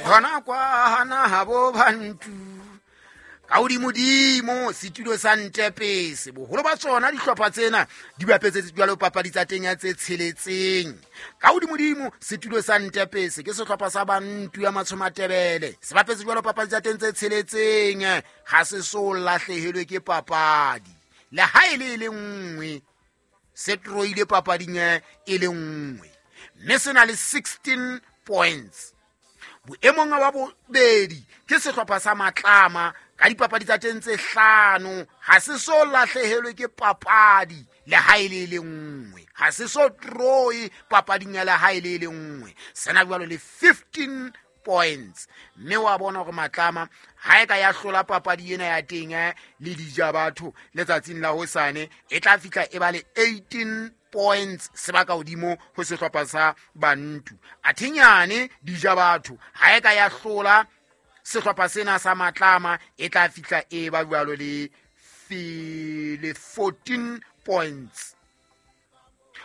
Hona kwana habo bantu ka hodimodimo setulo sa Ntepese. Boholo ba tsona dihlopha tsena di bapetse jwalo papadi tsa teng ya tse tsheletseng. Ka hodimodimo setulo sa Ntepese ke sehlopha sa Bantu ya Matshomatebele, se bapetse jwalo papadi tsa teng tse tsheletseng, ha se so lahlehelwe ke papadi le ha e le e le nngwe. Se troile papading e le nngwe, mme se na le 16 points. Boemong ba bobedi ke sehlopha sa Matlama ka dipapadi tsa teng tse hlano, ha se so lahlehelwe ke papadi le ha e le e le nngwe, ha se so troe papading ya le ha e le e le nngwe, sena jwalo le 15 points. Mme wa bona hore Matlama ha e ka ya hlola papadi ena ya teng le dija batho letsatsing la hosane, e tla fihla e ba le 18 points, sebaka hodimo ho sehlopha sa Bantu. Athenyane dija batho ha e ka ya hlola sehlopha sena sa Matlama, e tla fihla e ba jwalo le 14 points.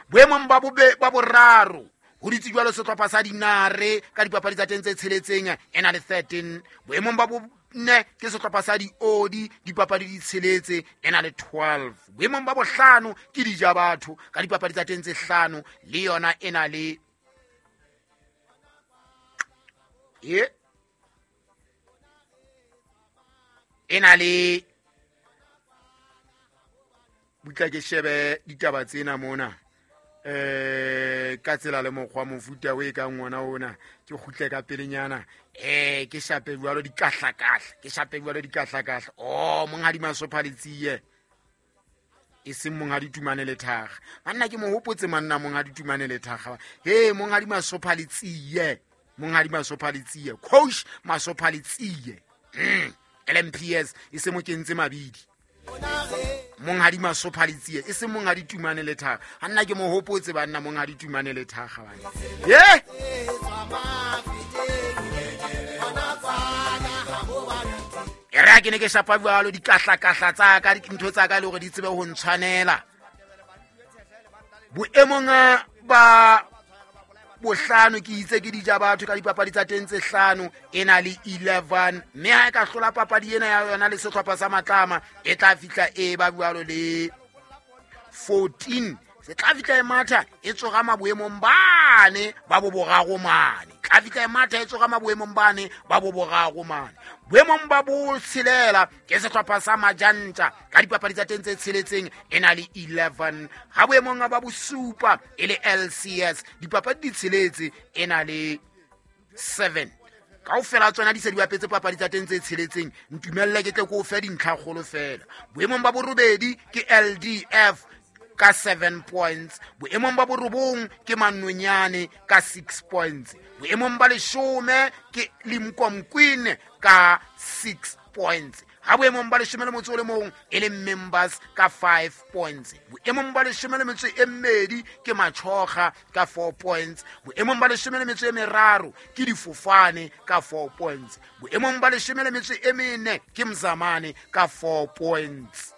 Boemong ba boraro ho ditse jwalo sehlopha sa Dinare ka dipapadi tsa teng tse tsheletseng, e na le 13. Boemong ba bone ke sehlopha sa Diodi, dipapadi di tsheletse, e na le 12. Boemong ba bohlano ke dija batho ka dipapadi tsa teng tse hlano, le yona e na le e na le butla. Ke shebe ditaba tsena mona ka tsela le mokgwa mofuta o e kang ona ona, ke kgutle ka pelenyana, ke shape jwalo dikahlakahla, ke shape jwalo dikahlakahla. Oh, monghadi Masopha Letsie, e seng monghadi Tumane Lethakga. Banna, ke mo hopotse manna monghadi Tumane Lethakga. He, monghadi Masopha Letsie, monghadi Masopha Letsie, coach Masopha Letsie, LMPS, e se mo kentse mabidi. Monghadi Masopha Letsie, e seng monghadi Tumane Lethakga. A nna ke mo hopotse banna monghadi Tumane Lethakga bana. Ye! E re ha ke ne ke shapa jwalo dikahlakahla tsa ka, dintho tsa ka le hore di tsebe ho ntshwanela. Boemong ba bohlano ke itse ke dija batho ka dipapadi tsa teng tse hlano, e na le 11, mme ha e ka hlola papadi ena ya yona le sehlopha sa Matlama, e tla fihla e ba jwalo le 14. Se tla fihla e matha e tsoga maboemong bane ba bo boraro mane, tla fihla e matha e tsoga maboemong bane ba bo boraro mane. Boemong ba botshelela ke sehlopha sa Majantja ka dipapadi tsa teng tse tsheletseng, e na le 11. Ha boemong ba bosupa e le LCS, dipapadi di tsheletse, e na le 7. Kaofela tsona di se di bapetse papadi tsa teng tse tsheletseng. Ntumelle ke tle ke o fe dintlhakgolo fela. Boemong ba borobedi ke LDF ka 7 points, boemong ba borobong ke Manonyane ka 6 points, boemong ba leshome ke Limkomkwin ka 6 points, ha boemong ba leshome le motso o le mong e le Members ka 5 points, boemong ba leshome le metso e mmedi ke Machoga ka 4 points, boemong ba leshome le metso e meraro ke Difofane ka 4 points, boemong ba leshome le metso e mene ke Mzamane ka 4 points,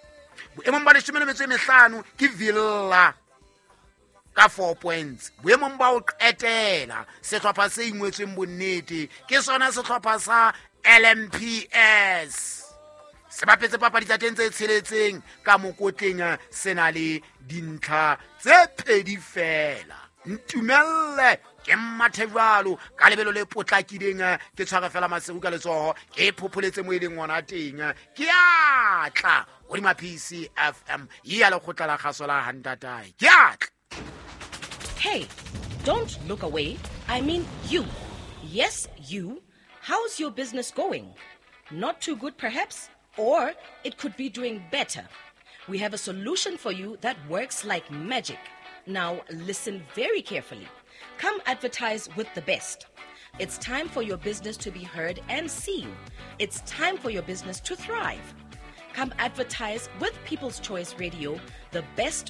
boemong ba leshome le metso e mehlano ke Villa ka 4 points. Boemong ba ho qetela sehlopha se ingwetsweng bonnete ke sona sehlopha sa LMPS, se bapetse papadi tsa teng tse tsheletseng, ka mokotleng se na le dintlha tse pedi fela. Ntumelle ke mmathe jwalo ka lebelo le potlakileng, ke tshware fela Maseru ka letsoho, ke phopholetse mo e leng ona teng, ke atla hodima PCFM ya lekgotla la kgaso la Hantatae, ke atla. Hey, don't look away. I mean you. Yes, you. How's your business going? Not too good, perhaps? Or it could be doing better. We have a solution for you that works like magic. Now, listen very carefully. Come advertise with the best. It's time for your business to be heard and seen. It's time for your business to thrive. Come advertise with People's Choice Radio, the best